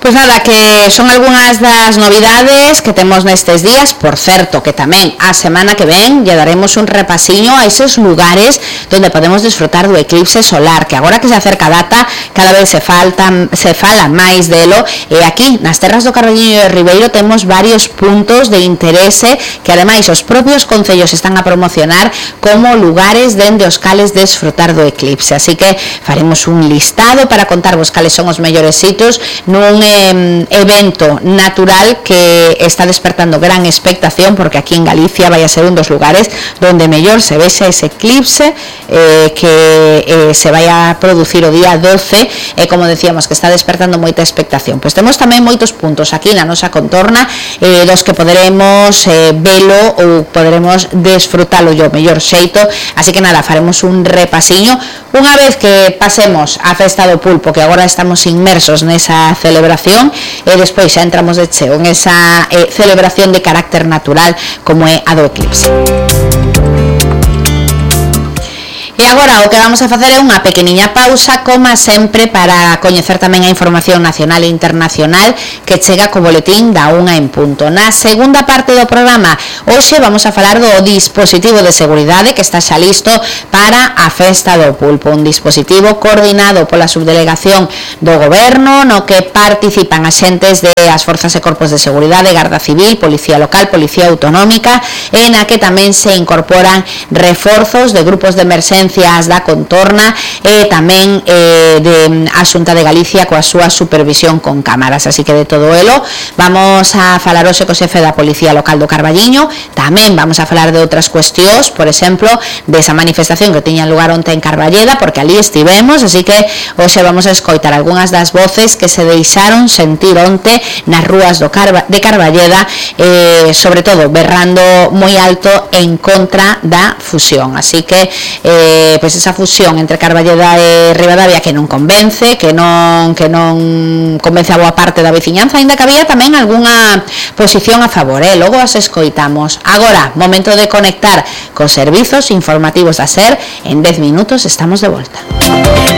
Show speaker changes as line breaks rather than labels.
Pois nada, que son algunhas das novidades que temos nestes días. Por certo, que tamén a semana que ven lle daremos un repasiño a eses lugares donde podemos disfrutar do eclipse solar, que agora que se acerca a data cada vez se fala máis delo, e aquí nas terras do Carballiño e Ribeiro temos varios puntos de interese que ademais os propios concellos están a promocionar como lugares dende os cales desfrutar do eclipse, así que faremos un listado para contarvos cales son os mellores sitios nun evento natural que está despertando gran expectación, porque aquí en Galicia vai a ser un dos lugares donde mellor se vexa ese eclipse que se vai a producir o día 12 e como decíamos que está despertando moita expectación. Pois temos tamén moitos puntos aquí na nosa contorna dos que poderemos velo ou poderemos desfrutalo o mellor xeito, así que nada, faremos un repasiño unha vez que pasemos a festa do pulpo, que agora estamos inmersos nesa celebración, e despois xa entramos de cheo en esa celebración de carácter natural como é a do eclipse. E agora o que vamos a facer é unha pequeniña pausa, como sempre, para coñecer tamén a información nacional e internacional que chega co boletín da 1 en punto. Na segunda parte do programa, hoxe vamos a falar do dispositivo de seguridade que está xa listo para a festa do pulpo, un dispositivo coordinado pola subdelegación do goberno, no que participan axentes das forzas e corpos de seguridade, Garda Civil, Policía Local, Policía Autonómica, e na que tamén se incorporan reforzos de grupos de emerxencia da contorna e tamén a Xunta de Galicia coa súa supervisión con cámaras, así que de todo elo vamos a falar hoxe co xefe da Policía Local do Carballiño. Tamén vamos a falar de outras cuestións, por exemplo, desa manifestación que tiña lugar onte en Carballeda, porque ali estivemos, así que hoxe vamos a escoitar algunhas das voces que se deixaron sentir onte nas rúas de Carballeda, sobre todo berrando moi alto en contra da fusión, así que pois esa fusión entre Carballeda e Ribadavia que non convence, que non convence a boa parte da veciñanza, aínda que había tamén algunha posición a favor, logo as escoitamos. Agora, momento de conectar cos servizos informativos da SER. En 10 minutos estamos de volta.